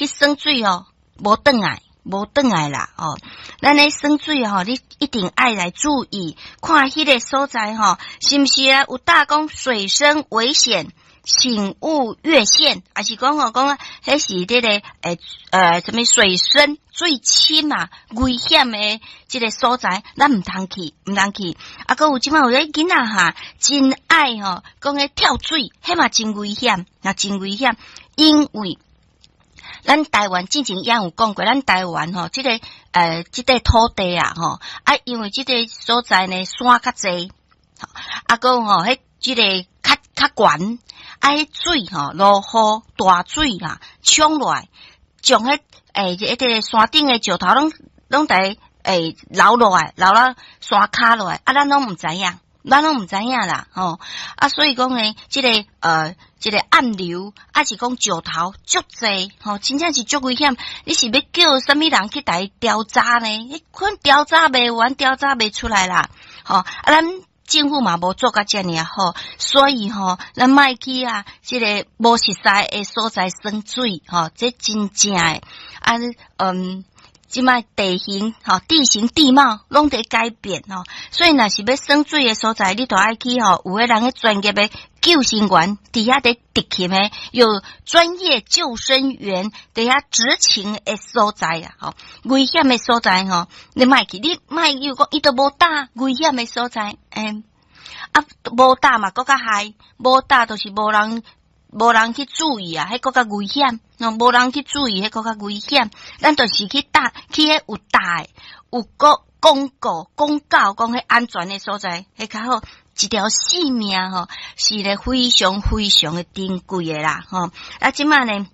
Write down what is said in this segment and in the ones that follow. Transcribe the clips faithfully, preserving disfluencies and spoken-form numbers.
去耍水哦，無轉來，無轉來啦哦。咱咧耍水吼，你一定愛來注意，看彼个所在吼，是毋是啊？有貼講水深危險，請勿越線，抑是講吼講，彼是這個欸呃，啥物水深水深啊，危險的這个所在，咱毋通去，毋通去。啊，閣有這擺有个囡仔哈，真愛吼，講彼跳水，彼嘛真危險，也真危險，因為咱台灣之前也有講過，咱台灣吼，這个呃，這塊土地啊，吼啊，因為這个所在呢山較濟，啊，閣吼，彼這个較較懸，啊，彼水吼落雨大水啦，沖落來，將彼欸，彼個山頂的石頭攏攏佇欸流落來，流到山跤落來，啊，咱攏毋知影，咱攏毋知影啦，吼啊，所以講呢，這个呃，這个暗流，抑是講石頭足濟，吼，真正是足危險。你是欲叫啥物人去共伊調查呢？彼款調查袂完，調查袂出來啦，吼啊，咱政府嘛無做甲遮爾好，所以吼，咱莫去啊，這个無熟似的所在耍水，吼，這真正的啊，嗯，這擺地形吼，地形地貌攏佇改變吼，所以若是欲耍水的所在，你著愛去吼，有彼人彼專業的救生員佇遐佇執勤的，有專業救生員佇遐執勤的所在啊，吼，危險的所在吼，你莫去，你莫又講伊都無貼危險的所在，欸，啊，無貼嘛，閣較害，無貼就是無人無人去注意啊，彼閣較危險，無人去注意，彼閣較危險。咱就是去貼，去彼有貼的，有個公告公告講彼安全的所在，彼較好。一條性命吼，是咧非常非常的珍貴的啦，吼。啊，這擺呢，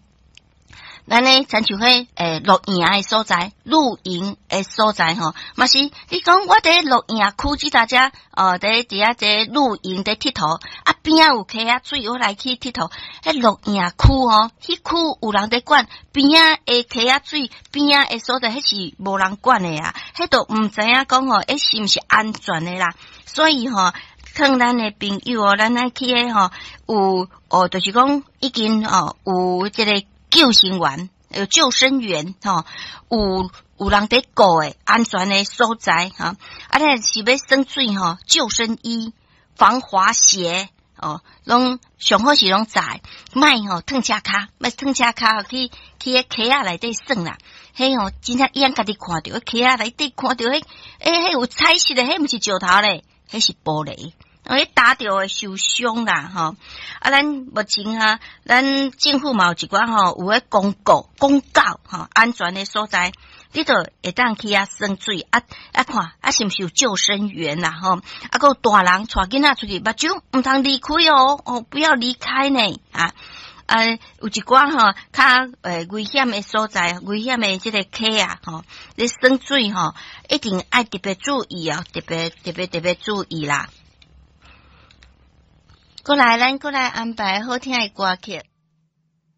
咱咧親像彼欸露營的所在，露營的所在吼，嘛是你講我佇露營區，這大家哦，佇佇遐這露營佇𨑨迌，啊邊仔有溪仔水，我來去𨑨迌。彼露營區吼，彼區有人佇管，邊仔的溪仔水，邊仔的所在，彼是無人管的啊，彼都毋知影講吼，彼是毋是安全的啦？所以吼，勸咱的朋友哦，咱愛去彼吼，有哦，就是講已經哦有這个救生員，有救生員吼，有有人佇顧的安全的所在吼。啊，你若是欲耍水吼，救生衣、防滑鞋哦，攏上好是攏在，莫吼褪車跤，莫褪車跤去去彼溪仔內底耍啦。彼吼真正伊家己看著，溪仔內底看著彼，欸，彼有彩色的，彼毋是石頭咧，彼是玻璃。彼打著會受傷啦，吼！啊，咱目前啊，咱政府嘛有一寡吼，有彼公告公告吼，安全的所在，你就會當去遐耍水啊啊看啊，是毋是有救生員啦，吼！啊，閣有大人帶囡仔出去，目睭毋通離開哦，哦，不要離開呢，啊啊，有一寡吼較欸危險的所在，危險的這个溪啊，吼，你耍水吼，一定愛特別注意哦，特別特別特別注意啦。過來，咱過來安排好聽的歌曲。